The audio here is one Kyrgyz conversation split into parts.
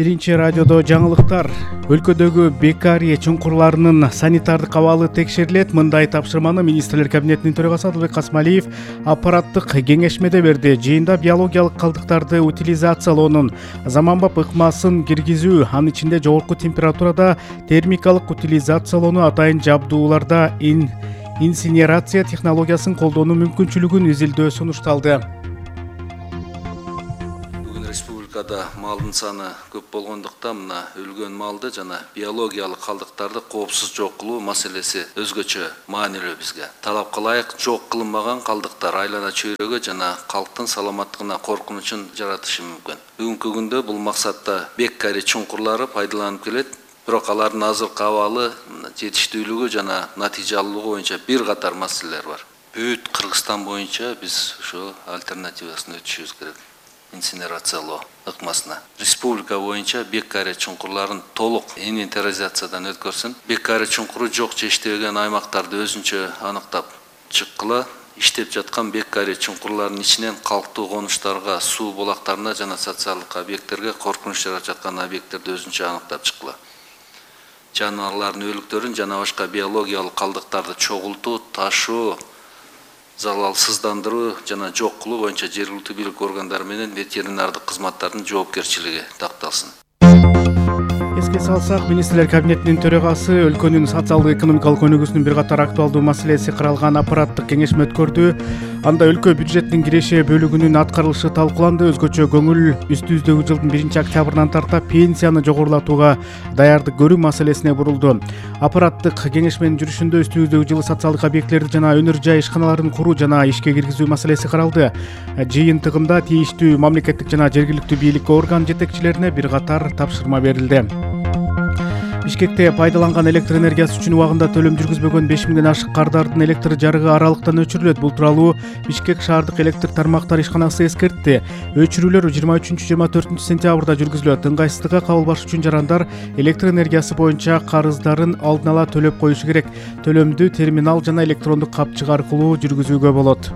Биринчи радиодо жаңылыктар. Өлкөдөгү бекария чуңкурларынын санитардык абалы текшерилет. Мындай тапшырманы министрлер кабинетинин төрагасы Адылбек Касмалиев аппараттык кеңешмеде берди. Жыйында биологиялык калдыктарды утилизациялоонун заманбап ыкмасын киргизүү, анын ичинде жогорку температурада термикалык утилизациялоону атайын жабдууларда инсинерация технологиясын колдонуу мүмкүнчүлүгүн изилдөө сунушталды. Республикада малдын саны көп болгондуктан мына өлгөн малды жана биологиялык калдыктарды коопсуз жок кылуу маселеси өзгөчө маанилүү бизге. Талапка ылайык жок кылынбаган калдыктар айлана чөйрөгө жана калктын саламаттыгына коркунучун жаратышы мүмкүн. Бүгүнкү күндө бул максатта беккари чуңкурлары пайдаланып келет. Бирок алардын азыркы абалы, жетиштүүлүгү жана натыйжалуулугу боюнча бир катар маселелер бар. Бүт Кыргызстан боюнча биз ошо альтернативасын өтүшүбүз керек. Инсинерациялоо ыкмасына. Республика боюнча беккари чуңкурларын толук инвентаризациядан өткөрсүн. Беккари чуңкуру жок же иштебеген аймактарды өзүнчө аныктап чыккыла. Иштеп жаткан беккари чуңкурлардын ичинен калктуу конуштарга, суу булактарына жана социалдык объекттерге коркунуч жаратып жаткан объекттерди өзүнчө аныктап чыккыла. Жаныбарлардын өлүктөрүн жана башка биологиялык калдыктарды чогултуу, ташуу, залалсыздандыруу жана жок кылуу боюнча жергиликтүү бийлик органдары менен ветеринардык кызматтардын жоопкерчилиги такталсын. Эске салсак, министрлер кабинетинин төрагасы өлкөнүн социалдык экономикалык өнүгүүсүнүн бир катар актуалдуу маселеси каралган аппараттык кеңешме өткөрдү. Анда өлкө бюджетинин киреше бөлүгүнүн аткарылышы талкууланды. Өзгөчө көңүл үстүбүздөгү жылдын 1-октябрынан тарта пенсияны жогорулатууга даярдык көрүү маселесине бурулду. Аппараттык кеңешменин жүрүшүндө үстүбүздөгү жылы социалдык объекттерди жана өнөр жай ишканаларын куруу жана ишке киргизүү маселеси каралды. Жыйынтыгында тийиштүү мамлекеттик жана жергиликтүү бийлик орган жетекчилерине бир катар тапшырма берилди. Бишкекте пайдаланган электр энергиясы үчүн убагында төлөм жүргүзбөгөн 5000ден ашык кардардын электр жарыгы аралыктан өчүрүлөт. Бул тууралуу Бишкек шаардык электр тармактар ишканасы эскертти. Өчүрүүлөр 23-24 сентябрда жүргүзүлөт. Ыңгайсыздыкка кабылбаш үчүн жарандар электр энергиясы боюнча карыздарын алдын ала төлөп коюшу керек. Төлөмдү терминал жана электрондук капчык аркылуу жүргүзүүгө болот.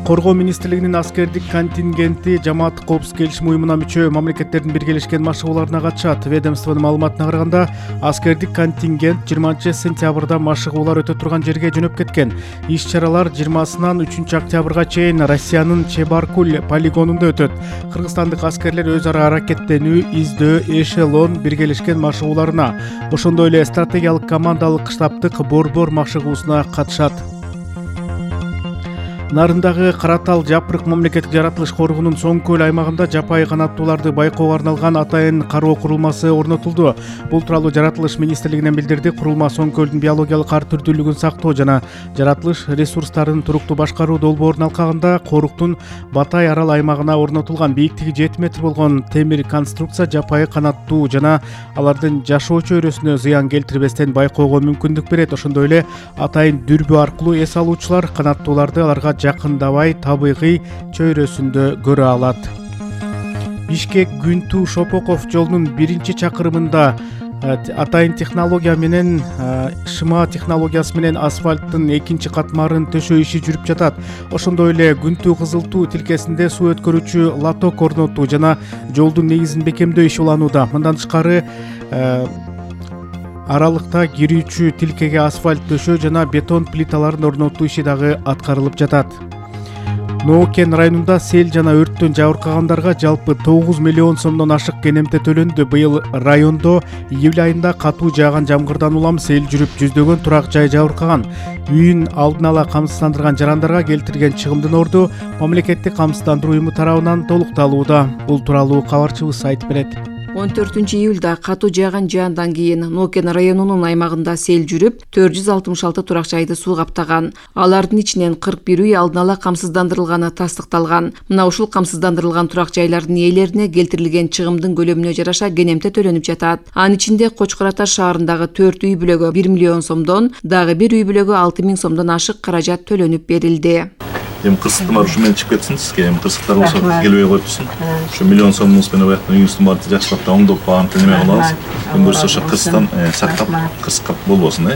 Коргоо министрлигинин аскердик контингенти жамааттык коопсуздук келишим уюмуна мүчө мамлекеттердин биргелешкен машыгууларына катышат. Ведомствонун маалыматына караганда, аскердик контингент 20-сентябрда машыгуулар өтө турган жерге жөнөп кеткен. Иш-чаралар 20-сынан 3-октябрга чейин Россиянын Чебаркуль полигонунда өтөт. Кыргызстандык аскерлер өз ара аракеттенүү, издөө, эшелон биргелешкен машыгууларына, ошондой эле стратегиялык командалык штабтык борбор машыгуусуна катышат. Нарындагы Каратал Жапырык мамлекеттик жаратылыш коргоонун Соң көл аймагында жапайы канаттууларды байкоого арналган атайын кароо курулмасы орнотулду. Бул тууралуу жаратылыш министрлигинен билдирди. Курулма Соң көлдүн биологиялык ар түрдүүлүгүн сактоо жана жаратылыш ресурстарын туруктуу башкаруу долбоорун алкагында Коруктун Батай арал аймагына орнотулган бийиктиги 7 метр болгон темир конструкция жапайы канаттуу жана алардын жашоо чөйрөсүнө зыян келтирбестен байкоого мүмкүндүк берет. Ошондой эле атайын дүрбү аркылуу эс алуучулар канаттууларды аларга жакындабай табигый чөйрөсүндө көрө алат. Бишкек Күнтүү Шопоков жолунун 1-чакырымында атайын технология менен шыма технологиясы менен асфальттын 2 катмарын төшөө иши жүрүп жатат. Ошондой эле Күнтүү Кызылтуу тилкесинде суу өткөрүүчү лоток орнотуу жана жолдун негизин бекемдөө иши уланууда. Мындан тышкары аралыкта кирүүчү тилкеге асфальт төшөө жана бетон плиталарын орнотуу иши дагы аткарылып жатат. Ноокен районунда сел жана өрттөн жабыркагандарга жалпы 9 миллион сомдон ашык кенемте төлөндү. Быйыл райондо июль айында катуу жааган жамгырдан улам сел жүрүп, жүздөгөн турак жай жабыркаган. Үйүн алдын ала камсыздандырган жарандарга келтирген чыгымдын орду мамлекеттик камсыздандыруу уюму тарабынан толукталууда. Бул тууралуу кабарчыбыз айтып берет. 14-июлда катуу жааган жаандан кийин Ноокен районунун аймагында сел жүрүп, 466 турак жайды суу каптаган. Алардын ичинен 41 үй алдын ала камсыздандырылганы тастыкталган. Мына ушул камсыздандырылган турак жайлардын ээлерине келтирилген чыгымдын көлөмүнө жараша кенемте төлөнүп жатат. Анын ичинде Кочкор Ата шаарындагы 4 үй бүлөгө 1 миллион сомдон, дагы бир үй бүлөгө 6000 сомдон ашык каражат төлөнүп берилди. Эми кырсыктар ушу менен чыгып кетсин сизге, эми кырсыктар болсо келбей коюп турсун. Ушу миллион сомдуңуз менен бияктан үйүңүздүн баарын жакшылап оңдоп багантып неме кылабыз. Эми буюрса ошо кырсыктан сактап, кырсыкка болбосун,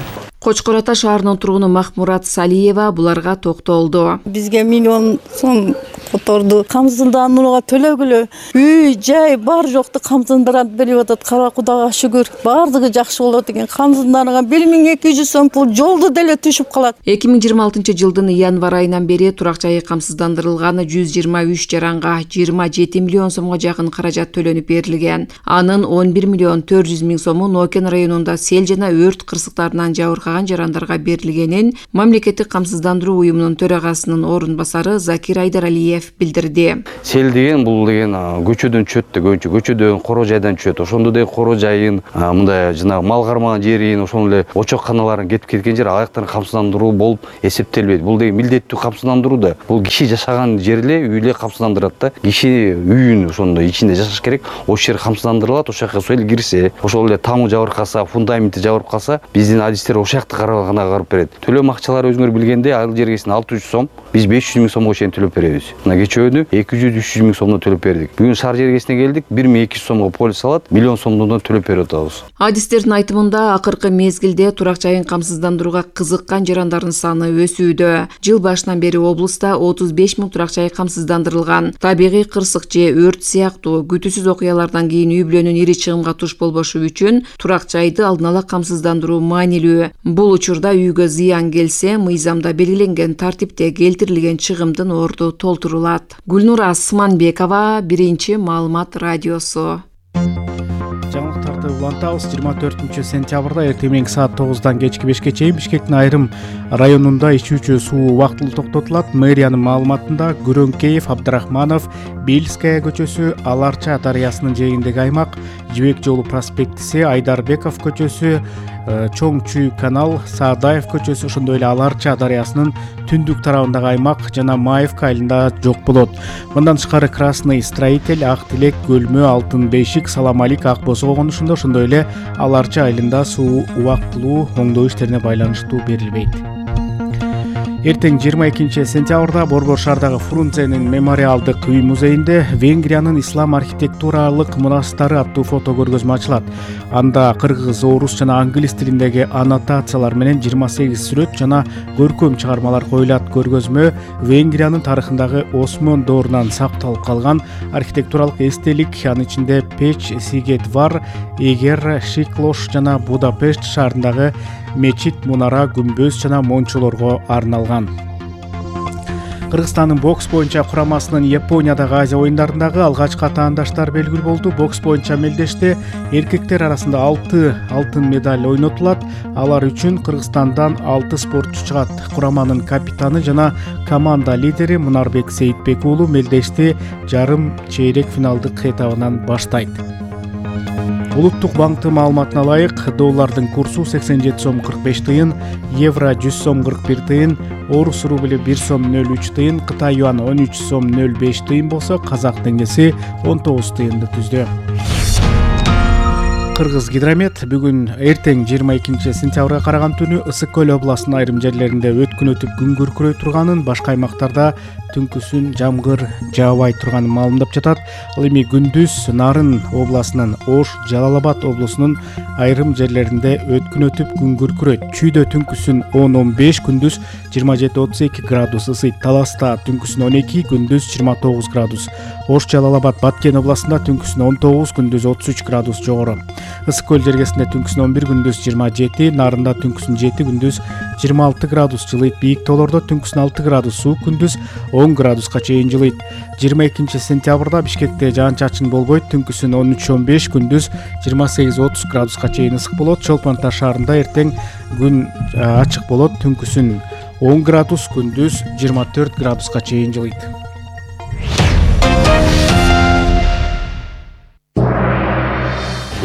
Кочкор Ата шаарынын тургуну Махмурат Салиева буларга токтолду. Бизге миллион сом которду камсыздандырууга төлөгүлө үй жай бар жокту камсыздандырып берип атат. Кара Кудайга шүгүр, баардыгы жакшы болот экен. Камсыздандырган 1200 сом пул жолду деле түшүп калат. 2026-жылдын январ айынан бери турак жайы камсыздандырылган 123 жаранга 27 миллион сомго жакын каражат төлөнүп берилген. Анын 11 миллион 400 миң сому Нокен районунда сел жана өрт кырсыктарынан жабыркаган жарандарга берилгенин мамлекеттик камсыздандыруу уюмунун төрагасынын орун басары Закир Айдаралиев билдирди. Сел деген бул деген көчөдөн түшөт да, көчөдөн коро жайдан түшөт. Ошондо да коро жайын, мындай жанагы мал кармаган жерин, ошондо эле очокканаларын кетип кеткен жер аяктан камсыздандыруу болуп эсептелбейт. Бул деген милдеттүү камсыздандыруу да. Бул киши жашаган жерде үйле камсыздандырат да. Киши үйүн ошондо ичинде жашаш керек. Ошол жер камсыздандырылат, ошол жака суу эл кирсе, ошол эле тамы жабырып калса, фундаменти жабырып калса, биздин адистер ошол жакты карабагана карып берет. Төлөм акчалары өзүңөр билгендей, айыл жергесине 600 сом, биз 500 миң сомго чейин төлөп беребиз. Мына кечөөдү 200-300 миң сомдон төлөп бердик. Бүгүн шаар жергесине келдик, 1200 сомго полис алат, миллион сомдон төлөп берип атабыз. Адистердин айтымында акыркы мезгилде турак жайын камсыздандырууга кызыккан жарандардын саны өсүүдө. Жыл башынан бери облуста 35 миң турак жай камсыздандырылган. Табигый кырсык же өрт сыяктуу күтүүсүз окуялардан кийин үй бүлөнүн ири чыгымга туш болбошу үчүн турак жайды алдын ала камсыздандыруу маанилүү. Бул учурда үйгө зыян келсе, мыйзамда белгиленген тартипте келтирилген чыгымдын орду толтурулат. Гүлнура Сманбекова, Биринчи маалымат радиосу. Жаңылыктарды улантабыз. 24 сентябрда эртең мененки саат 9-дан кечки 5-ке чейин Бишкектин айрым районунда ичүүчү суу убактылуу токтотулат. Мэриянын маалыматында Күрөңкеев, Абдрахманов, Бельская көчөсү, Аларча дарыясынын жээгиндеги аймак, Жибек жолу проспектиси, Айдарбеков көчөсү, Чоң Чүй канал, Саадаев көчөсү, ошондой эле Аларча дарыясынын түндүк тарабындагы аймак жана Маевка айылында жок болот. Мындан тышкары Красный Строитель, Ак Тилек, Көлмө, Алтын Бейшик, Саламалик, Ак Бозоо конушунда, ошондой эле Аларча айылында суу убактылуу оңдоо иштерине байланыштуу берилбейт. Эртең 22 сентябрда Борбор шаардагы Фрунзенин мемориалдык үй музейинде Венгриянын ислам архитектуралык мурастары аттуу фото көргөзмө ачылат. Анда кыргыз, орус жана англис тилиндеги аннотациялар менен 28 сүрөт жана көркөм чыгармалар коюлат. Көргөзмө Венгриянын тарыхындагы Осмон доорунан сакталып калган архитектуралык эстелик, анын ичинде Печ, Сигет-Вар, Эгер, Шиклош жана Будапешт шаарындагы мечит, мунара, күмбөз жана мончолорго арналган. Кыргызстандын бокс боюнча курамасынын Япониядагы Азия оюндарындагы алгачкы атаандаштар белгилүү болду. Бокс боюнча мелдеште эркектер арасында 6 алтын медаль ойнотулат. Алар үчүн Кыргызстандан 6 спортчу чыгат. Кураманын капитаны жана команда лидери Мунарбек Сейитбек уулу мелдешти жарым чейрек финалдык этабынан баштайт. Улуттук банктын маалыматына ылайык, доллардын курсу 87 сом 45 тыйын, евро 100 сом 41 тыйын, орус рубли 1 сом 03 тыйын, Кытай юан 13 сом 05 тыйын болсо, казак теңгеси 19 тыйынды түздү. Кыргыз гидромет бүгүн эртең 22 сентябрга караган түнү Ысык көл областынын айрым жерлеринде өткүн өтүп күн күркүрөй турганын, башка аймактарда түнкүсүн жамгыр жаабай турганын маалымдап жатат. Ал эми күндүз Нарын областынын, Ош, Жалал-Абад облусунун айрым жерлеринде өткүн өтүп күн күркүрөйт. Чүйдө түнкүсүн 10-15, күндүз 27-32 градус ысыйт. Таласта түнкүсүн 12, күндүз 29 градус. Ош, Жалал-Абад, Баткен областында түнкүсүн 19, күндүз 33 градус жогору. Ысык көл жергесинде түнкүсүн 11, күндүз 27, Нарында түнкүсүн 7, күндүз 26 градус жылыйт. Бийик тоолордо түнкүсүн 6 градус суук, күндүз 10 градуска чейин жылыйт. 22 сентябрда Бишкекте жаан-чачын болбойт. Түнкүсүн 13-15, күндүз 28-30 градуска чейин ысык болот. Чолпон-Ата шаарында эртең күн ачык болот. Түнкүсүн 10 градус, күндүз 24 градуска чейин жылыйт.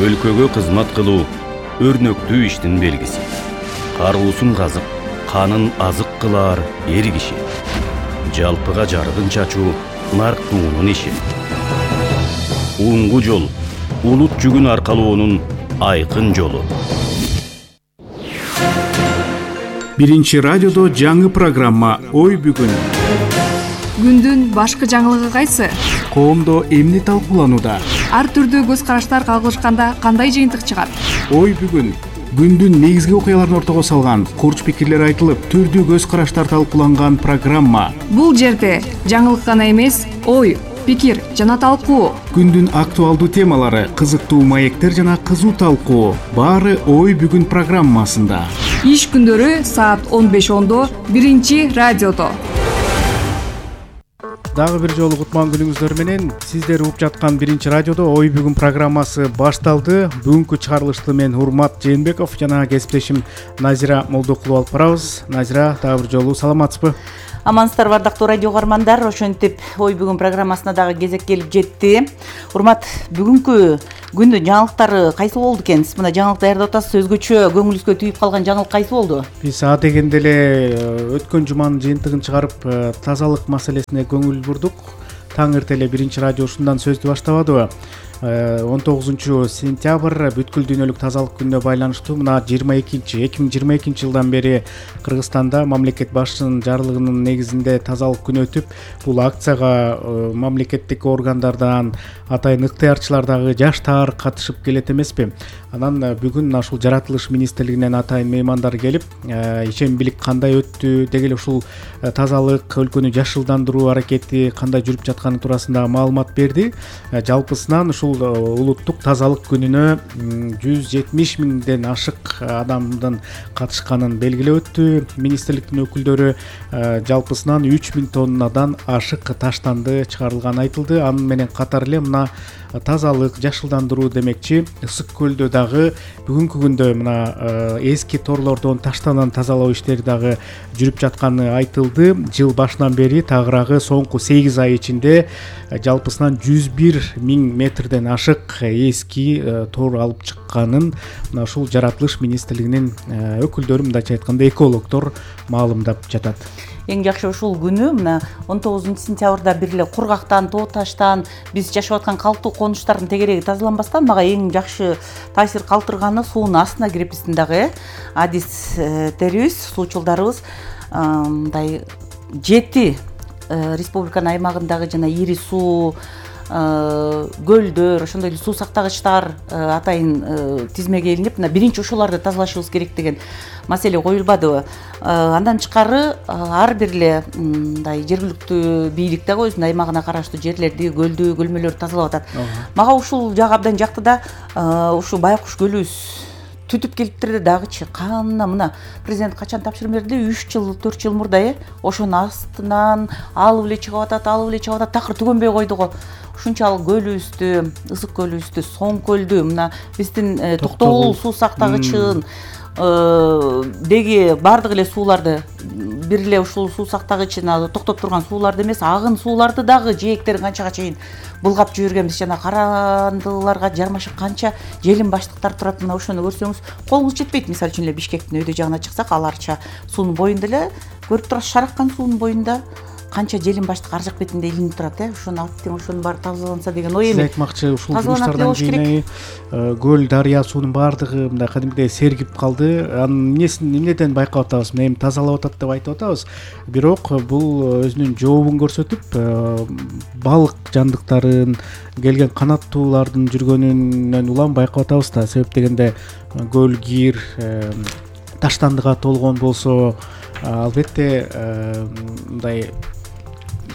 Өлкөгө кызмат кылуу өрнөктүү иштин белгиси. Каруусун казып, канын азык кылаар эр киши. Жалпыга жарыгын чачуу нарктуунун иши. Уңгу жол улут жүгүн аркалоонун айкын жолу. Биринчи радиодо жаңы программа Ой бүгүн. Күндүн башкы жаңылыгы кайсы? Коомдо эмне талкууланууда? Ар түрдүү көз караштар кагылышканда кандай жыйынтык чыгат? Ой бүгүн күндүн негизги окуяларын ортого салган, курч пикирлер айтылып, түрдүү көз караштар талкууланган программа. Бул жерде жаңылык гана эмес, ой, пикир жана талкуу. Күндүн актуалдуу темалары, кызыктуу маектер жана кызуу талкуу. Баары Ой бүгүн программасында. Иш күндөрү саат 15:10 биринчи радиодо. Дагы бир жолу кутман күнүңүздөр менен сиздер угуп жаткан биринчи радиодо Ой бүгүн программасы башталды. Бүгүнкү чыгарылышты мен Урмат Жээнбеков жана кесиптешим Назира Молдокулова алып барабыз. Назира, дагы бир жолу саламатсызбы? Амансыздарбы ардактуу радио каармандар. Ошентип Ой бүгүн программасына дагы кезек келип жетти. Урмат, бүгүнкү күндүн жаңылыктары кайсы болду экен? Сиз мына жаңылык даярдап атасыз. Өзгөчө көңүлүбүзгө түйүп калган жаңылык кайсы болду? Биз адегенде эле өткөн жуманын жыйынтыгын чыгарып, тазалык маселесине көңүл бурдук. Таң эрте эле биринчи радио ушундан сөздү баштабадыбы? 19 сентябрь бүткүл дүйнөлүк тазалык күнүнө байланыштуу мына 2022 жылдан бери Кыргызстанда мамлекет башчынын жарлыгынын негизинде тазалык күнү өтүп, бул акцияга мамлекеттик органдардан, атайын ыктыярчылар дагы жаштар катышып келет эмеспи? Анан бүгүн ушул жаратылыш министрлигинен атайын меймандар келип, ишембилик кандай өттү, деги эле ушул тазалык өлкөнү жашылдандыруу аракети кандай жүрүп жатканы туурасында маалымат берди. Жалпысынан ушул улуттук тазалык күнүнө 170 миңден ашык адамдын катышканын белгилеп өттү. Министрликтин өкүлдөрү жалпысынан 3000 тоннадан ашык таштанды чыгарылганы айтылды. Анын менен катар эле мына тазалык, жашылдандыруу демекчи Ысык көлдө дагы бүгүнкү күндө мына эски торлордон таштанан тазалоо иштери дагы жүрүп жатканы айтылды. Жыл башынан бери тагыраагы соңку 8 ай ичинде жалпысынан 101 миң метрден ашык эски тор алып чыкканын мына ушул жаратылыш министрлигинин өкүлдөрү, мындайча айтканда экологдор маалымдап жатат. Эң жакшы ушул күнү мына 19 сентябрда бир эле кургактан, тоо таштан, биз жашап аткан калктуу конуштардын тегереги тазаланбастан мага эң жакшы таасир калтырганы суунун астына кирип биздин дагы адистерибиз, суучулдарыбыз мындай 7 республиканын аймагындагы жана ири суу көлдөр, ошондой эле суу сактагычтар атайын тизмеге илинип, мына биринчи ошолорду тазалашыбыз керек деген маселе коюлбадыбы? Андан тышкары ар бир эле мындай жергиликтүү бийлик дагы өзүнүн аймагына караштуу жерлерди, көлдү, көлмөлөрдү тазалап атат. Мага ушул жагы абдан жакты да, ушу Байкуш көлүбүз түтүп келиптир дагычы. Кана мына президент качан тапшырма берди? 3 жыл, 4 жыл мурда ошонун астынан алып эле чыгып атат, такыр түгөнбөй койду го. Ушунчалык көлүбүздү, Ысык көлүбүздү, Соң көлдү, мына биздин Токтогул суу сактагычын деги баардык эле сууларды, бир эле ушул суу сактагычына токтоп турган сууларды эмес, агын сууларды дагы жээктерин канчага чейин булгап жибергенбиз. Жана карандыларга жармашып канча желим баштыктар турат. Мына ошону көрсөңүз колуңуз жетпейт. Мисалы үчүн эле Бишкектин өйдө жагына чыксак, аларча суунун боюнда эле көрүп турасыз, шараккан суунун боюнда канча желим баштык ар жак бетинде илинип турат. Ошону алып тең ошонун баары тазаланса деген ой эми. Сиз айтмакчы, ушул жумуштардан кийин көл, дарыя суунун баардыгы мындай кадимгидей сергип калды. Анын эмнеден байкап атабыз? Эми тазалап атат деп айтып атабыз. Бирок бул өзүнүн жообун көрсөтүп, балык жандыктарын, келген канаттуулардын жүргөнүнөн улам байкап атабыз да. Себеп дегенде көл, кир таштандыга толгон болсо, албетте мындай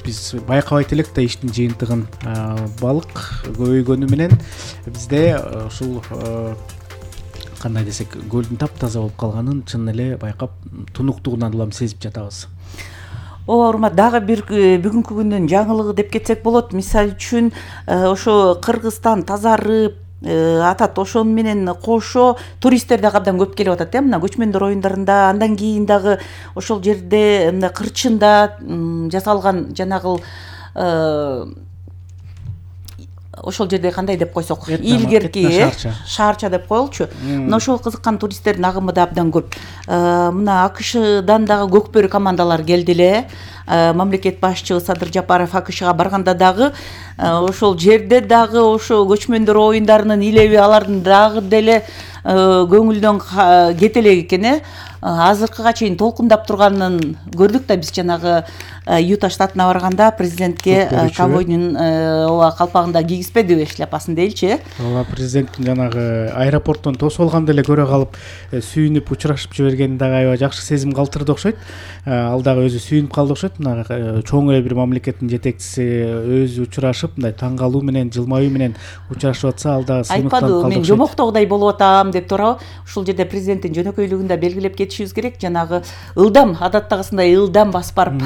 биз байкабайт элек да иштин жыйынтыгын. Балык көбөйгөнү менен бизде ушул кандай десек, көлдүн таптаза болуп калганын чын эле байкап, тунуктугунан улам сезип жатабыз. Ооба, урмат, дагы бир бүгүнкү күндүн жаңылыгы деп кетсек болот. Мисалы үчүн ошо Кыргызстан тазарып атат, ошону менен кошо туристтер дагы абдан көп келип атат. Мына көчмөндөр оюндарында, андан кийин дагы ошол жерде мына кырчында жасалган жанагыл ошол жерде кандай деп койсок, илгерки шаарча деп коелучу. Мына ошого кызыккан туристтердин агымы да абдан көп. Мына АКШдан дагы көкбөрү командалар келди эле. Мамлекет башчы Садыр Жапаров АКШга барганда дагы ошол жерде дагы ошо көчмөндөр оюндарынын илеби алардын дагы деле көңүлдөн кете элек экен. Азыркыга чейин толкундап турганын көрдүк да биз жанагы Юта штатына барганда президентке ковбойдун ооба калпагында кийгизбедиби шляпасын дейчи. Ооба, президенттин жанагы аэропорттон тосуп алганда эле көрө калып сүйүнүп учурашып жибергени дагы аябай жакшы сезим калтырды окшойт. Ал дагы өзү сүйүнүп калды окшойт. Мына чоң эле бир мамлекеттин жетекчиси өзү учурашып, мындай таң калуу менен, жылмаюу менен учурашып атса, ал дагы сыймыктанып калды окшойт. Айтпадыбы, мен жомоктогудай болуп атам деп турабы. Ушул жерде президенттин жөнөкөйлүгүн да белгилеп кетишибиз керек. Жанагы ылдам, адаттагысындай ылдам басып барып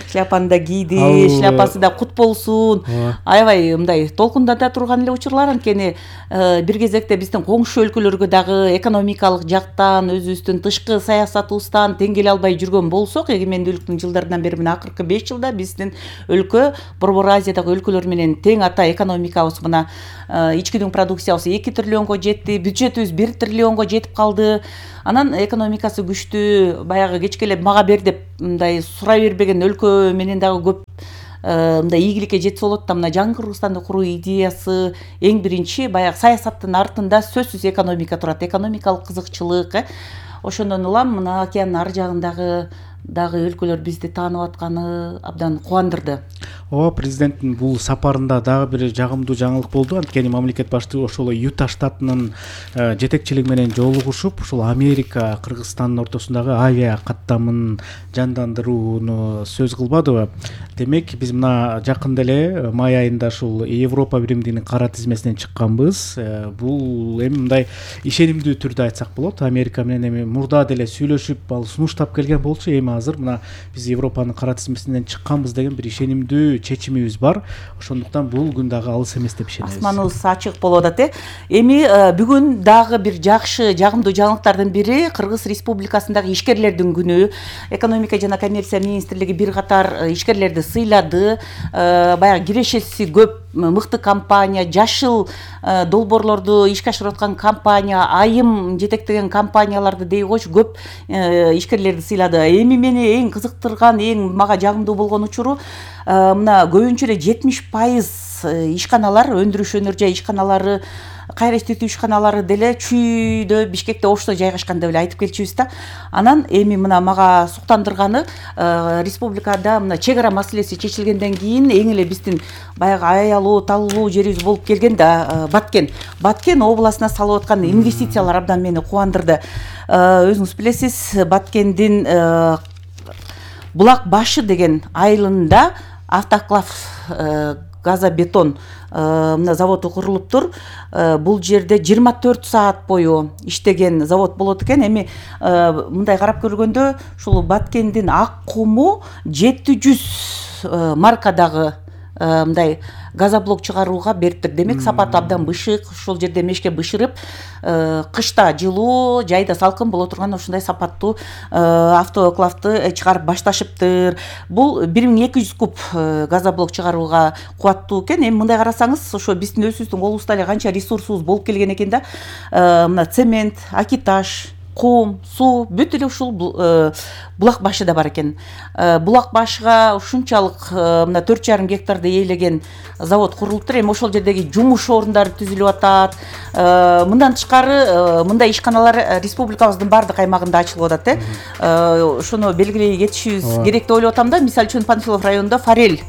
шляпаны да кийди, шляпасы да кут болсун. Аябай мындай толкундата турган эле учурлар. Анткени бир кезекте биздин коңшу өлкөлөргө дагы экономикалык жактан, өзүбүздүн тышкы саясатыбыздан тең келе албай жүргөн болсок, эгемендүүлүктүн жылдарынан бери мына акыркы 5 жылда биздин өлкө Борбор Азиядагы өлкөлөр менен тең ата экономикабыз мына ички продукциябыз 2 триллионго жетти, бюджетибиз 1 триллионго жетип калды. Анан экономикасы күчтүү, баягы кечкелеп мага бер деп мындай сурай бербеген өлкө менен дагы көп мындай ийгиликке жетсе болот да. Мына жаңы Кыргызстанды куруу идеясы эң биринчи баягы саясаттын артында сөзсүз экономика турат, экономикалык кызыкчылык. Ошондон улам мына океандын ар жагындагы дагы өлкөлөр бизди таанып атканы абдан кубандырды. Ооба, президенттин бул сапарында дагы бир жагымдуу жаңылык болду. Анткени мамлекет башчысы ошол Юта штатынын жетекчилиги менен жолугушуп, ушул Америка, Кыргызстандын ортосундагы авиа каттамын жандандырууну сөз кылбадыбы? Демек, биз мына жакында эле май айында ушул Европа биримдигинин кара тизмесинен чыкканбыз. Бул эми мындай ишенимдүү түрдө айтсак болот. Америка менен эми мурда деле сүйлөшүп, ал сунуштап келген болчу. Эми азыр мына биз Европанын кара тизмесинен чыкканбыз деген бир ишенимдүү чечимибиз бар. Ошондуктан бул күн дагы алыс эмес деп ишенебиз. Асманыбыз ачык болуп атат. Эми бүгүн дагы бир жакшы, жагымдуу жаңылыктардын бири Кыргыз Республикасындагы ишкерлердин күнү. Экономика жана коммерция министрлиги бир катар ишкерлерди сыйлады. Баягы кирешеси көп мыкты компания, жашыл долбоорлорду ишке ашырып аткан компания, айым жетектеген компанияларды дей койчу көп ишкерлерди сыйлады. Эми мени эң кызыктырган, эң мага жагымдуу болгон учуру мына көбүнчө эле 70% ишканалар, өндүрүш өнөр жай ишканалары, кайра иштетүү ишканалары деле Чүйдө, Бишкекте, Ошто жайгашкан деп эле айтып келчүбүз да. Анан эми мына мага суктандырганы республикада мына чек ара маселеси чечилгенден кийин эң эле биздин баягы аялуу, талуулуу жерибиз болуп келген да Баткен областына салып аткан инвестициялар абдан мени кубандырды. Өзүңүз билесиз, Баткендин Булак башы деген айылында автоклав газобетон мына заводу курулуптур. Бул жерде 24 саат бою иштеген завод болот экен. Эми мындай карап көргөндө ушул Баткендин ак куму 700 маркадагы мындай газоблок чыгарууга бериптир. Демек сапаты абдан бышык, ошол жерде мешке бышырып, кышта жылуу, жайда салкын боло турган ушундай сапаттуу автоклавды чыгарып башташыптыр. Бул 1200 куб газоблок чыгарууга кубаттуу экен. Эми мындай карасаңыз, ошо биздин өзүбүздүн колубузда эле канча ресурсубуз болуп келген экен да. Мына цемент, акитаж, кум, суу бүт эле ушул булак башы да бар экен. Булак башыга ушунчалык мына 4,5 гектарды ээлеген завод курулуптур. Эми ошол жердеги жумуш орундары түзүлүп атат. Мындан тышкары мындай ишканалар республикабыздын баардык аймагында ачылып атат. Ошону белгилей кетишибиз керек деп ойлоп атам да. Мисалы үчүн Панфилов районунда Форель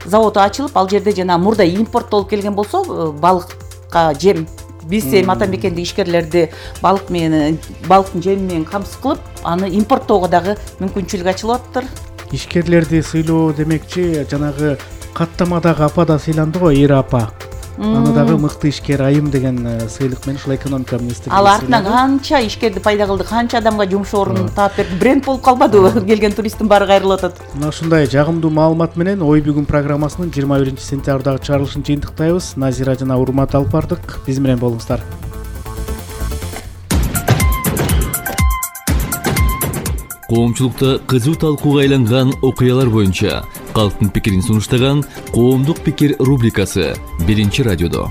заводу ачылып, ал жерде жана мурда импорттолуп келген болсо, балыкка жем, биз эми ата мекендик ишкерлерди балыктын жеми менен камсыз кылып, аны импорттоого дагы мүмкүнчүлүк ачылып атыптыр. Ишкерлерди сыйлоо демекчи, жанагы каттамадагы апа да сыйланды го, Ира апа. Аны дагы мыкты ишкер айым деген сыйлык менен ушул экономика министрлиги. Ал артынан канча ишкерди пайда кылды, канча адамга жумуш ордун таап берди. Бренд болуп калбадыбы? Келген туристтин баары кайрылып атат. Мына ушундай жагымдуу маалымат менен Ой бүгүн программасынын 21-сентябрдагы чыгарылышын жыйынтыктайбыз. Назира жана Урмат алып бардык. Биз менен болуңуздар. Коомчулукта кызуу талкууга айланган окуялар боюнча калктын пикирин сунуштаган Коомдук пикир рубрикасы 1-радиодо.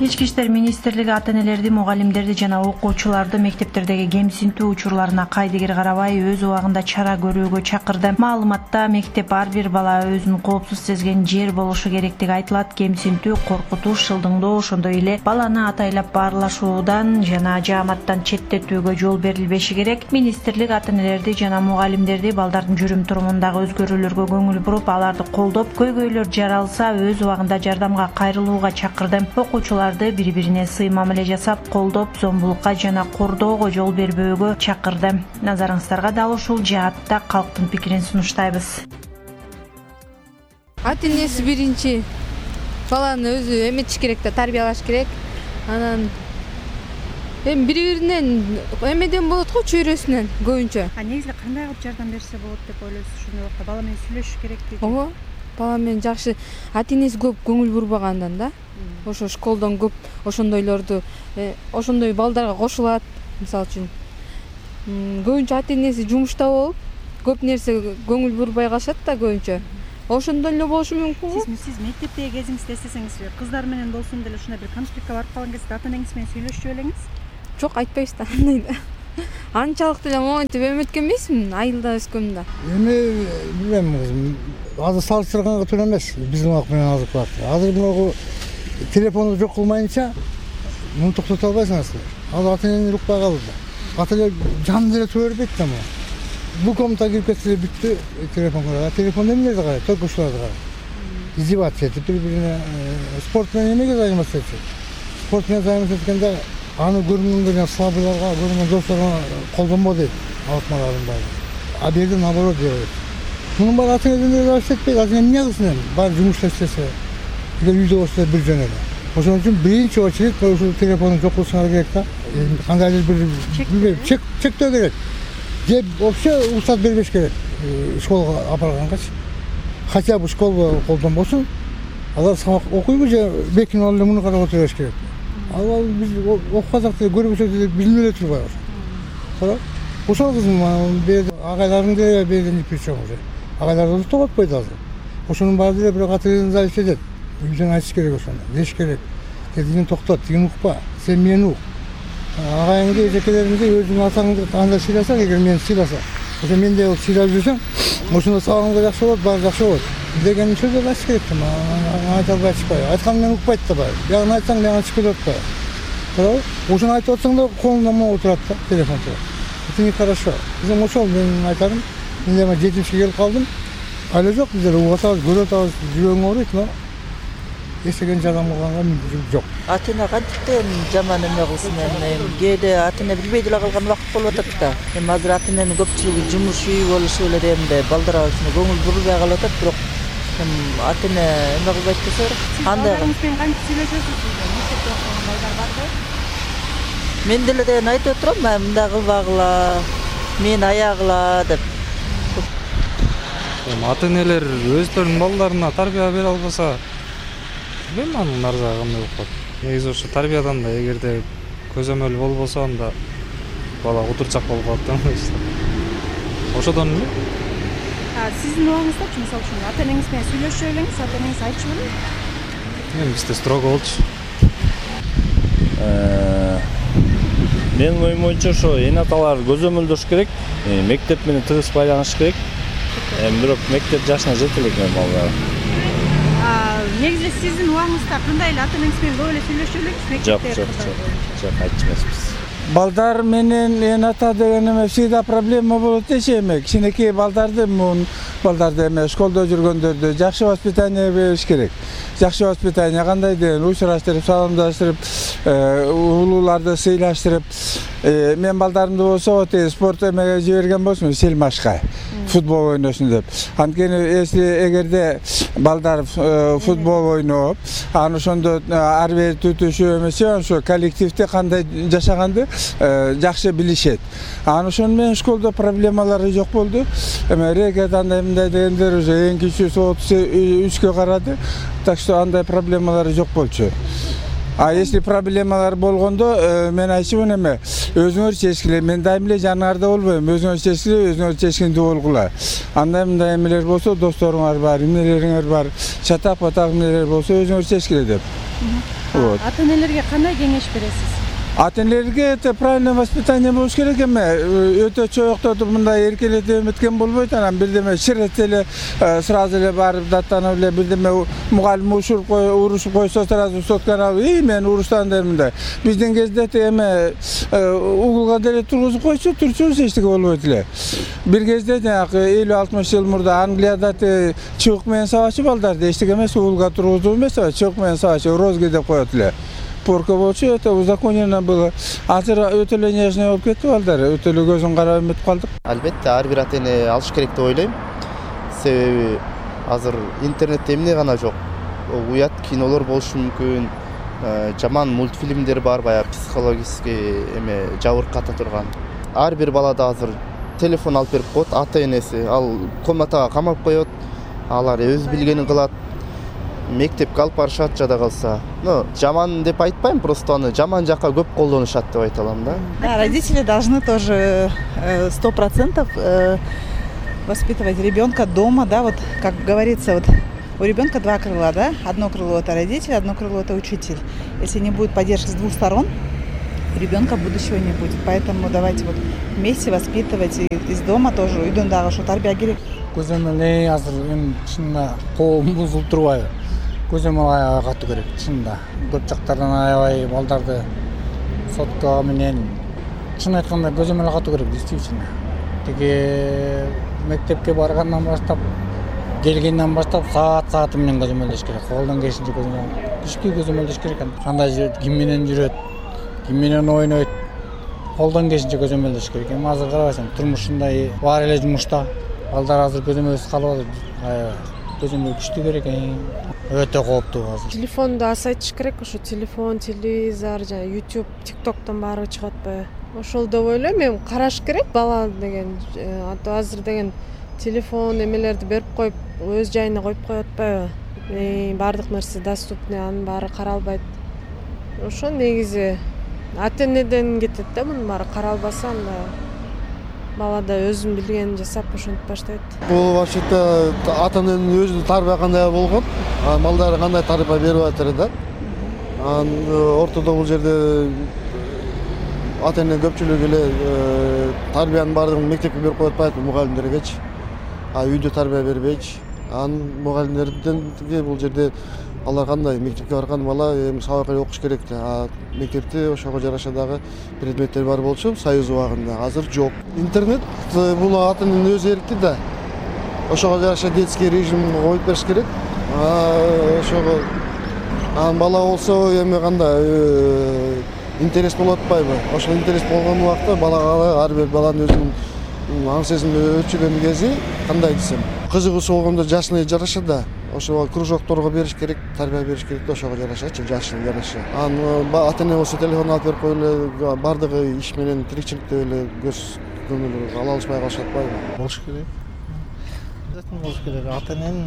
Ички иштер министрлиги ата-энелерди, мугалимдерди жана окуучуларды мектептердеги кемсинтүү учурларына кайдыгер карабай өз убагында чара көрүүгө чакырды. Маалыматта мектеп ар бир бала өзүн коопсуз сезген жер болушу керектиги айтылат. Кемсинтүү, коркутуш, шылдыңдоо, ошондой эле баланы атайлап баарлашуудан жана жааматтан четтетүүгө жол берилбеши керек. Министрлик ата-энелерди жана мугалимдерди балдардын жүрүм-турумундагы өзгөрүүлөргө көңүл буруп, аларды колдоп, көйгөйлөр жаралса өз убагында жардамга кайрылууга чакырды. Окуучулар бири-бирине сый мамиле жасап, колдоп, зомбулукка жана кордоого жол бербөөгө чакырды. Назарыңыздарга дал ушул жаатта калктын пикирин сунуштайбыз. Ата-энеси биринчи баланы өзү эметиш керек да, тарбиялаш керек. Анан эми бири-биринен эмеден болот го, чөйрөсүнөн көбүнчө. Негизи кандай кылып жардам берсе болот деп ойлойсуз? Ошондой убакта бала менен сүйлөшүш керек дейт. Ооба, бала менен жакшы ата-энеси көп көңүл бурбагандан да. Ошо школдон көп ошондойлорду, ошондой балдарга кошулат. Мисалы үчүн көбүнчө ата-энеси жумушта болуп, көп нерсе көңүл бурбай калышат да көбүнчө. Ошондой эле болушу мүмкүн го. Сиз мектептеги кезиңизде эстесеңиз, кыздар менен болсун деле ушундай бир конфликтке барып калган кезде ата-энеңиз менен сүйлөшчү белеңиз? Жок, айтпайбыз да андай да. Анчалык деле моментип эметкен эмесмин, айылда өскөм да. Эми билбейм кызым, азыр салыштырганга туура эмес биздин убакыт менен азыркы убакытта. Азыр могу телефонду жок кылмайынча муну токтото албайсыңар. Азыр ата-энени укпай калды. Ата-эне жан деле тура бербейт да муну. Бул комнатага кирип кетсе бүттү, телефон карайт. Телефон эмнелерди карайт, только ушуларды карайт. Издеваться этип, бири-бирине спорт менен эмеге займатса этип. Спорт менен займатса эткенде аны көргөнгө слабыйларга, көргөн досторго колдонбо дейт, алыкмалардын баары. А бул жерде наоборот дейт. Мунун баары ата-энеден зависит этпейт, ата-эне эмне кылсын эми? Баары жумушта иштесе, үйдө болсо бир жөн эле. Ошон үчүн биринчи очередь ушул телефонду жок кылышыңар керек да. Кандайдыр бир чектөө керек. Же вообще уруксат бербеш керек школго апаргангачы. Хотя бы школа колдонбосун, алар сабак окуйбу же бекинип алып эле муну карап отурбаш керек. Ал биз окугандак деле көрбөсөк деле билип эле турбайбыз. Туурабы? Ошол кызым берди агайларың деле берден причем уже. Агайлар да токтотпойт азыр. Ошонун баары деле бирок ата-энеден зависит этет. Үйдөн айтыш керек ошону, деш керек. Тигин токтот, тигин укпа, сен мени ук. Агайыңды, эжекелериңди өзүң атаңды андай сыйласаң, эгер мени сыйласа, ошо мен де сыйлап жүрсөм, ошондо сабагың да жакшы болот, баары жакшы болот. Деген сөздөрдү айтыш керек да, айта албай чыкпай. Айткан менен укпайт да баары. Бягын айтсаң, бягын чыгып кетип атпайбы. Туурабы? Ошону айтып атсаң да колуңда могу турат да, телефон турат. Это нехорошо. Биздин ошол мен айтарым. Мен дагы 70-ке келип калдым. Айла жок, биздер угуп атабыз, көрүп атабыз, жүрөгүң ооруйт, но эстеген жардам кылганга мүмкүнчүлүк жок. Ата-эне кантиптен жаман эме кылсын эми. Кээде ата-эне билбей деле калган убакыт болуп атат да. Эми азыр ата-эненин көпчүлүгү жумуш үй болушу эле эмне балдарга көңүл бурбай калып атат, бирок ата-эне эме кылбайт десе, андай. Балдарыңыз менен кантип сүйлөшөсүз? Мектепте окуган балдар барбы? Мен деле деген айтып отурам, мындай кылбагыла, мен аягыла деп. Ата-энелер өздөрүнүн балдарына тарбия бере албаса, билбейм анын арзагы кандай болуп калат. Негизи ошо тарбиядан да эгерде көзөмөл болбосо, анда бала утурчак болуп калат да. Ошодон эле. Сиздин убагыңыздачы, мисалы үчүн ата-энеңиз менен сүйлөшө белеңиз, ата-энеңиз айтчу белең? Эми бизде строго болчу. Менин оюм боюнча ошо эне аталар көзөмөлдөш керек, мектеп менен тыгыз байланыш керек. Бирок мектеп жашына жете элек балдар. Негизи сиздин убагыңызда кандай эле ата-энеңиз менен көп эле сүйлөшө белеңиз мектепте? Жок, айтчу эмеспиз. Балдар менен эне ата деген эме всегда проблема болот деши эме. Кичинекей балдарды эме школдо жүргөндөрдү жакшы воспитание бериш керек. Жакшы воспитание кандай деген учураштырып, саламдаштырып, улууларды сыйлаштырып, мен балдарымды болсо спорт эмеге жиберген болсун, сельмашка. Футбол ойносун деп. Анткени эгерде балдар футбол ойноп, аны ошондо ар бир түтүшү эмесе, ошо коллективде кандай жашаганды жакшы билишет. Аны ошону менен школдо проблемалары жок болду. Эме рекет андай мындай дегендер уже эң кичүүсү 33-кө карады. Так что андай проблемалары жок болчу. А если проблемалар болгондо мен айтчумун эме өзүңөр чечкиле, мен дайым эле жаныңарда болбойм, өзүңөр чечкиле, өзүңөр чечкиндүү болгула. Андай мындай эмелер болсо, досторуңар бар, эмнелериңер бар, чатак-патак эмнелер болсо өзүңөр чечкиле деп. Вот. Ата-энелерге кандай кеңеш бересиз? Ата-энелерге это правильное воспитание болуш керек эме. Өтө чоюктотуп мындай эркелетип эметкен болбойт. Анан бирдеме ширетсе эле сразу эле барып даттанып эле бирдеме мугалим урушуп койсо сразу сотканы алып, мен уруштан дер мындай. Биздин кезде эме угулга деле тургузуп койчу, турчубуз эчтеке болбойт эле. Бир кезде жанагы 50-60 жыл мурда Англияда чыбык менен сабачы балдарды эчтеке эмес, угулга тургузуу эмес, чыбык менен сабачы розги деп коет эле. Порка болчу, это узаконено было. Азыр өтө эле нежный болуп кетти балдар. Өтө эле көзүн карап эметип калдык. Албетте, ар бир ата-эне алыш керек деп ойлойм. Себеби азыр интернетте эмне гана жок. Уят кинолор болушу мүмкүн, жаман мультфильмдер бар, баягы психологический жабырката турган. Ар бир балада азыр телефон алып берип коет, ата-энеси ал комнатага камап коет, алар өз билгенин кылат. Мектепке алып барышат жада калса. Жаман деп айтпайм, просто аны жаман жакка көп колдонушат деп айта алам да. Да, родители должны тоже 100% воспитывать ребенка дома, да, вот как говорится, вот у ребенка два крыла, да, одно крыло это родитель, одно крыло это учитель. Если не будет поддержки с двух сторон, у ребенка будущего не будет. Поэтому давайте вот вместе воспитывать и из дома тоже, үйдөн дагы ошо тарбия керек. Көзөмөл азыр эми чынында коом бузулуп турбайбы? Көзөмөл катуу керек чынында. Көп жактардан аябай балдарды сотко менен чын айтканда көзөмөл катуу керек действительно. Тиги мектепке баргандан баштап, келгенден баштап саат менен көзөмөлдөш керек. Колдон келишинче күчкү көзөмөлдөш керек. Кандай ким менен жүрөт, ким менен ойнойт, колдон келишинче көзөмөлдөш керек. Эми азыр карабайсың, турмушундай бар эле жумушта. Балдар азыр көзөмөлсүз калып атат. Көзөмөл күчтүү керек. Өтө кооптуу азыр. Телефонду азайтыш керек, ошо телефон, телевизор, жана YouTube, TikToктон баары чыгып атпайбы? Ошол деп ойлойм, эми караш керек бала деген. Азыр деген телефон эмелерди берип коюп, өз жайына коюп коюп атпайбы? Баардык нерсе доступный, анын баары каралбайт. Ошо негизи ата-энеден кетет да, мунун баары каралбаса, анда бала да өзүн билгенин жасап ошентип баштайт. Бул вообще-то ата-эненин өзү тарбия кандай болгон, балдары кандай тарбия берип атыр да. Ортодо бул жерде ата-эне көпчүлүгү эле тарбиянын баардыгын мектепке берип коюп атпайт, мугалимдергечи. Үйдө тарбия бербейчи. Мугалимдерден бул жерде алар кандай мектепке барган бала эми сабак эле окуш керек да. Мектепте ошого жараша дагы предметтер бар болчу союз убагында. Азыр жок. Интернет бул ата-эненин өз эрки да. Ошого жараша детский режим коюп бериш керек. Ошого бала болсо эми кандай интерес болуп атпайбы? Ошол интерес болгон убакта балага ар бир баланын өзүнүн аң сезими өчүгөн кези кандай десем, кызыгуусу болгондо жашына жараша да. Ошо кружокторго бериш керек, тарбия бериш керек да, ошого жарашачы, жашына жараша. Ата-эне болсо телефон алып берип коюп эле бардыгы иш менен тиричиликте эле көз көңүл ала алышпай калышат атпайбы? Болуш керек. Обязательно болуш керек. Ата-эненин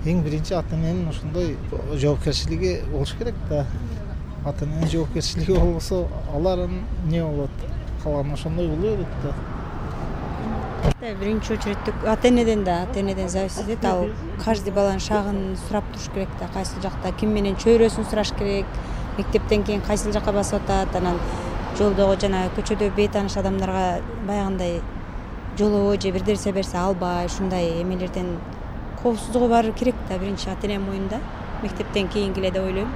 эң биринчи ата-эненин ошондой жоопкерчилиги болуш керек да. Ата-эненин жоопкерчилиги болбосо, алардын эмне болот? Калган ошондой боло берет да. Биринчи очередте ата-энеден зависит этет. Ал каждый баланын шагын сурап туруш керек да, кайсыл жакта ким менен чөйрөсүн сураш керек, мектептен кийин кайсыл жакка басып атат, анан жолдогу жана көчөдө бейтааныш адамдарга баягындай жолобой же бир нерсе берсе албай, ушундай эмелерден коопсуздугу бар керек да, биринчи ата-эне моюнда, мектептен кийинки эле деп ойлойм.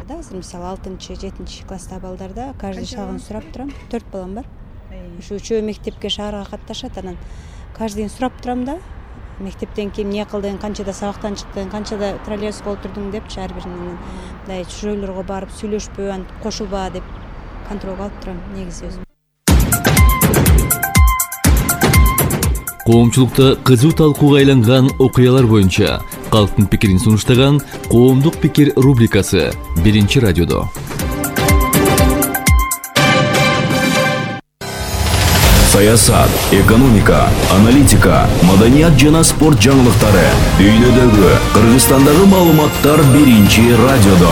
Азыр мисалы 6-7 класстагы балдарда каждый шагын сурап турам, 4 балам бар. Ушу үчөө мектепке шаарга катташат, анан каждыйын сурап турам да, мектептен кийин эмне кылдың, канчада сабактан чыктың, канчада троллейбуска отурдуң депчи ар биринин мындай чөйрөлөргө барып сүйлөшпө, антип кошулба деп контролго алып турам негизи өзүм. Коомчулукта кызуу талкууга айланган окуялар боюнча калктын пикирин сунуштаган Коомдук пикир рубрикасы 1-радиодо. Саясат, экономика, аналитика, маданият жана спорт жаңылыктары, дүйнөдөгү, Кыргызстандагы маалыматтар 1-радиодо.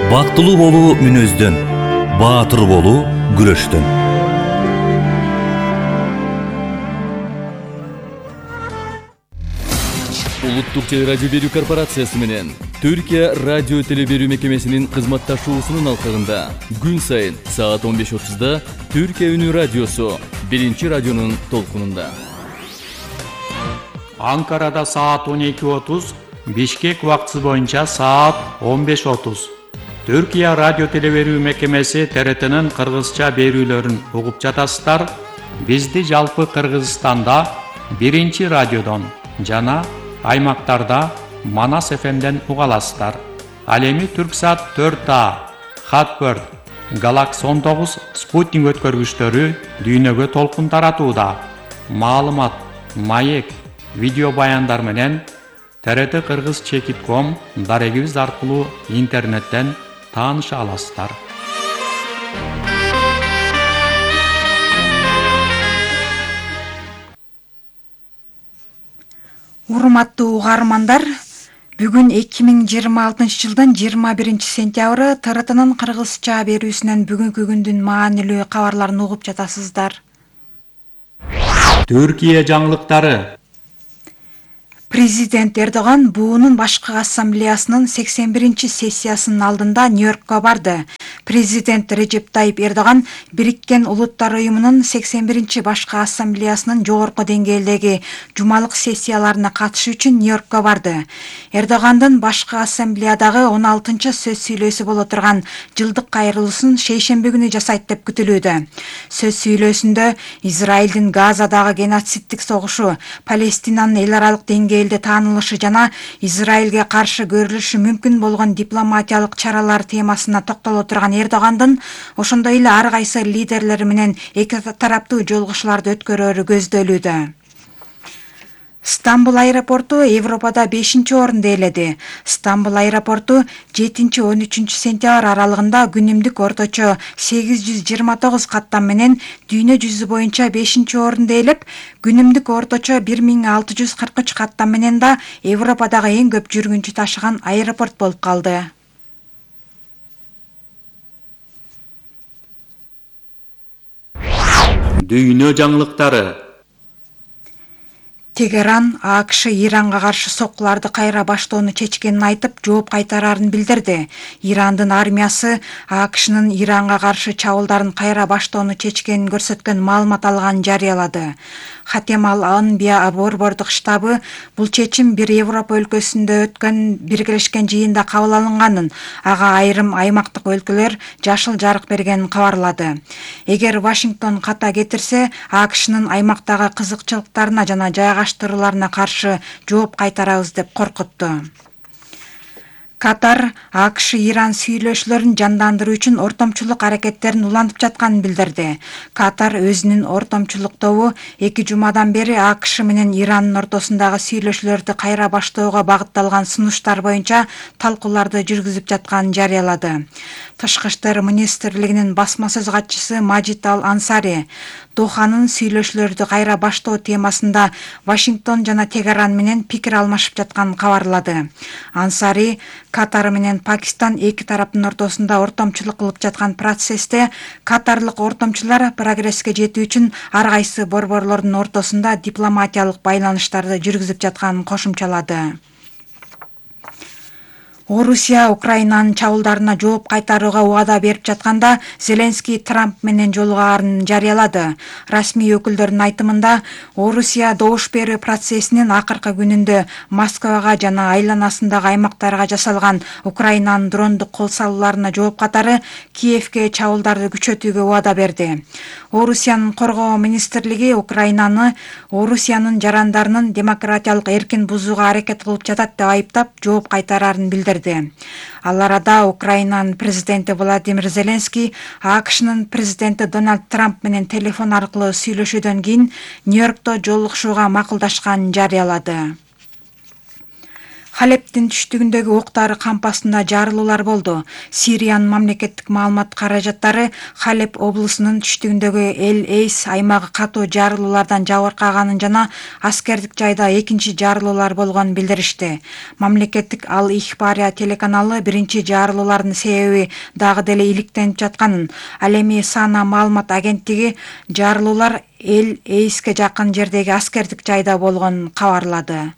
Бактылуу болуу мүнөздөн, баатыр болуу күрөштөн. Улуттук телерадио берүү корпорациясы менен Түркия радио теле берүү мекемесинин кызматташуусунун алкагында күн сайын саат 15:30 Түркия үнү радиосу 1-радионун толкунунда. Анкарада саат 12:30, Бишкек убактысы боюнча саат 15:30. Түркия радио теле берүү мекемеси ТРТнын кыргызча берүүлөрүн угуп жатасыздар. Бизди жалпы Кыргызстанда 1-радиодон жана аймактарда Манас ФМден уга аласыздар. Ал эми Түрксат 4А, Хатбird, Galaxy 19 спутник өткөргүчтөрү дүйнөгө толкун таратууда. Маалымат, маек, видео баяндар менен TRT Кыргыз Чекит.com дарегибиз аркылуу интернеттен тааныша аласыздар. Урматтуу угармандар, бүгүн 2026 жылдын 21 сентябры ТРТнын кыргызча берүүсүнөн бүгүнкү күндүн маанилүү кабарларын угуп жатасыздар. Түркия жаңылыктары. Президент Эрдоган буунун башкы ассамблеясынын 81-сессиясынын алдында Нью-Йоркко барды. Президент Режеп Тайип Эрдоган Бириккен Улуттар уюмунун 81-башкы ассамблеясынын жогорку деңгээлдеги жумалык сессияларына катышуу үчүн Нью-Йоркко барды. Эрдогандын башкы ассамблеядагы 16-сөз сүйлөөсү боло турган жылдык кайрылуусун шейшемби күнү жасайт деп күтүлүүдө. Сөз сүйлөөсүндө Израилдин Газадагы геноциддик согушу, Палестинанын эл аралык деңгээлде таанылышы жана Израилге каршы көрүлүшү мүмкүн болгон дипломатиялык чаралар темасына токтоло турган Эрдогандын ошондой эле ар кайсы лидерлери менен эки тараптуу жолугушууларды өткөрөөрү көздөлүүдө. Стамбул аэропорту Европада 5-орунду ээледи. Стамбул аэропорту 7-13 сентябрь аралыгында күнүмдүк орточо 829 каттам менен дүйнө жүзү боюнча 5-орунду ээлеп, күнүмдүк орточо 1643 каттам менен да Европадагы эң көп жүргүнчү ташыган аэропорт болуп калды. Дүйнө жаңылыктары. Тегеран АКШ Иранга каршы соккуларды кайра баштоону чечкенин айтып, жооп кайтараарын билдирди. Ирандын армиясы АКШнын Иранга каршы чабуулдарын кайра баштоону чечкенин көрсөткөн маалымат алганын жарыялады. Хатем Ал-Анбия борбордук штабы бул чечим бир Европа өлкөсүндө өткөн биргелешкен жыйында кабыл алынганын, ага айрым аймактык өлкөлөр жашыл жарык бергенин кабарлады. Эгер Вашингтон ката кетирсе, АКШнын аймактагы кызыкчылыктарына жана жайгаштырууларына каршы жооп кайтарабыз деп коркутту. Катар АКШ Иран сүйлөшүүлөрүн жандандыруу үчүн ортомчулук аракеттерин улантып жатканын билдирди. Катар өзүнүн ортомчулук тобу 2 жумадан бери АКШ менен Ирандын ортосундагы сүйлөшүүлөрдү кайра баштоого багытталган сунуштар боюнча талкууларды жүргүзүп жатканын жарыялады. Тышкы иштер министрлигинин басма сөз катчысы Мажид Ал-Ансари Доханын сүйлөшүүлөрдү кайра баштоо темасында Вашингтон жана Тегеран менен пикир алмашып жатканын кабарлады. Ансари Катар менен Пакистан эки тараптын ортосунда ортомчулук кылып жаткан процессте катарлык ортомчулар прогресске жетүү үчүн ар кайсы борборлордун ортосунда дипломатиялык байланыштарды жүргүзүп жатканын кошумчалады. Орусия Украинанын чабуулдарына жооп кайтарууга убада берип жатканда Зеленский Трамп менен жолугаарын жарыялады. Расмий өкүлдөрдүн айтымында, Орусия добуш берүү процессинин акыркы күнүндө Москвага жана айланасындагы аймактарга жасалган Украинанын дрондук кол салууларына жооп катары Киевке чабуулдарды күчөтүүгө убада берди. Орусиянын коргоо министрлиги Украинаны Орусиянын жарандарынын демократиялык эркин бузууга аракет кылып жатат деп айыптап, жооп кайтараарын билдирди. Ал арада Украинанын президенти Владимир Зеленский АКШнын президенти Дональд Трамп менен телефон аркылуу сүйлөшүүдөн кийин Нью-Йоркто жолугушууга макулдашканын жарыялады. Халептин түштүгүндөгү октары кампасында жарылуулар болду. Сириянын мамлекеттик маалымат каражаттары Халеп облусунун түштүгүндөгү Эл-Эйс аймагы катуу жарылуулардан жабыркаганын жана аскердик жайда экинчи жарылуулар болгонун билдиришти. Мамлекеттик Ал-Ихбария телеканалы биринчи жарылуулардын себеби дагы деле иликтенип жатканын, ал эми Сана маалымат агенттиги жарылуулар Эл-Эйске жакын жердеги аскердик жайда болгонун кабарлады.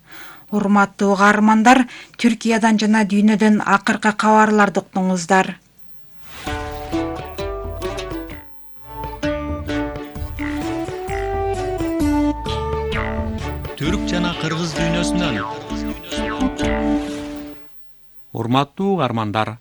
Урматтуу каармандар, Түркиядан жана дүйнөдөн акыркы кабарларды уктуңуздар. Түрк жана кыргыз дүйнөсүнөн. Урматтуу каармандар,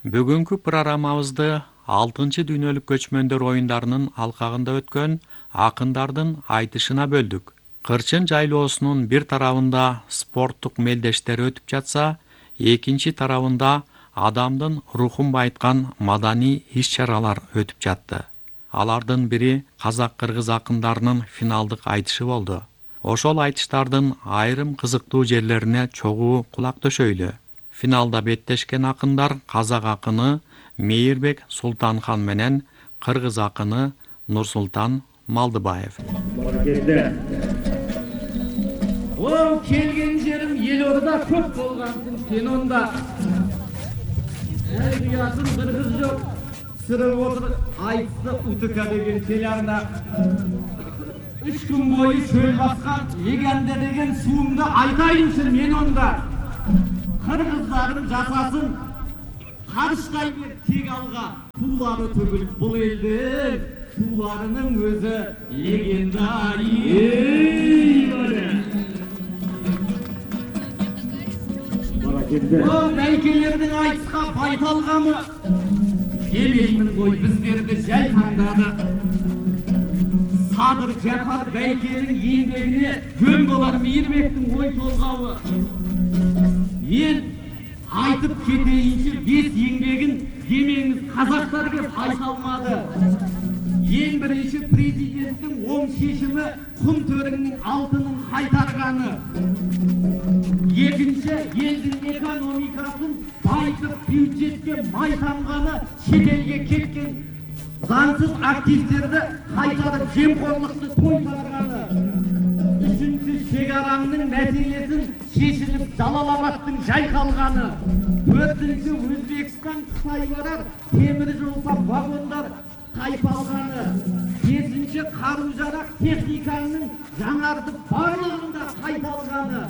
бүгүнкү программабызды 6-чы дүйнөлүк көчмөндөр оюндарынын алкагында өткөн акындардын айтышына бөлдүк. Кырчын жайлоосунун бир тарабында спорттук мелдештер өтүп жатса, экинчи тарабында адамдын рухун байыткан маданий иш-чаралар өтүп жатты. Алардын бири казак-кыргыз акындарынын финалдык айтышы болду. Ошол айтыштардын айрым кызыктуу жерлерине чогуу кулак төшөйлү. Финалда беттешкен акындар казак акыны Мейирбек Султанхан менен кыргыз акыны Нурсултан Малдыбаев. О, келген жерим Елорда көп болгансың сен онда. Кыятын кыргыз жок, сырып отур айтты УТК деген телеарна. 3 күн бою чөл баскан Легенде деген суумду айтайынчы мен онда. Кыргыздарым жасасын, карыштай бер тек алга. Суулары төгүлүп бул элдин, сууларынын өзү легенда. О, бәйкелердің айтысқа байталғамы, демеймін ғой біздерді жай таңдады. Садыр Жапар бәйкенің еңбегіне жөн болар Мейірбектің ой толғауы. Мен айтып кетейінші 5 еңбегін демеңіз қазақтар кеп айта алмады. Ең бірінші президенттің оң шешімі құм төріңнің алтынын қайтарғаны. Екінші, елдің экономикасын байытып бюджетке майтанғаны, шетелге кеткен заңсыз активтерді қайтарып жемқорлықты тойтарғаны. Үшінші, шекараның мәселесін шешіліп Жалалабадтың жайқалғаны. Төртінші, Өзбекстан Қытай барар темір жол вагондар қайпалғаны. Бесінші, қару-жарақ техниканың жаңартып барлығында қайталғаны.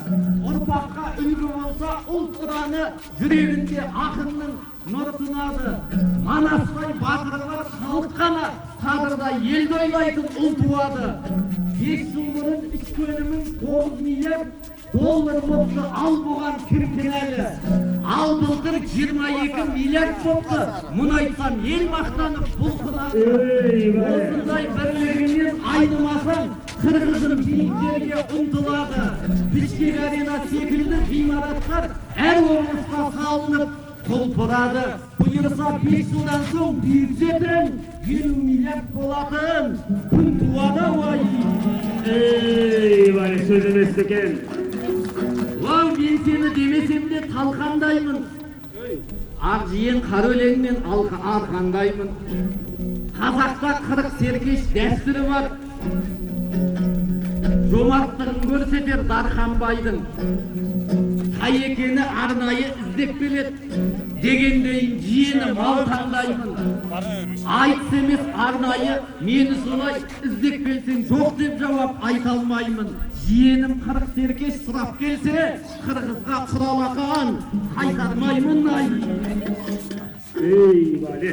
Ұрпаққа үлгі болса ұлт ұраны, жүрегінде ақынның нұр тұнады. Манастай батырлар халыққана, қадырда елді ойлайтын ұл туады. 5 жыл бұрын ішкі өнімін 9 миллиард доллар болды, ал бұған кім кінәлі? Ал былтыр 22 миллиард болды. Мұны айтсам ел мақтанып бұлқынады. Осындай бірлігінен айнымасаң, Кыргыздын биіктерге ұмтылады. Бишкек арена секілді ғимараттар әр облысқа салынып құлпырады. Бұйырса 5 жылдан соң бюджеттен 20 миллиард болатын. Күн туады ой. Бай сөз емес екен. Вау, мен сені демесем де талқандаймын. Ақ жиен қара өлеңмен арқандаймын. Қазақта 40 серкеш дәстүрі бар. Жомарттығын көрсетер Дарханбайдың. Қай екені арнайы іздеп келеді. Дегендейін жиені мал таңдаймын. Айтыс емес арнайы мені солай іздеп келсең жоқ деп жауап айта алмаймын. Жиенім 40 серкеш сұрап келсе, Қырғызға құралақан қайтармаймын. Ей, бале.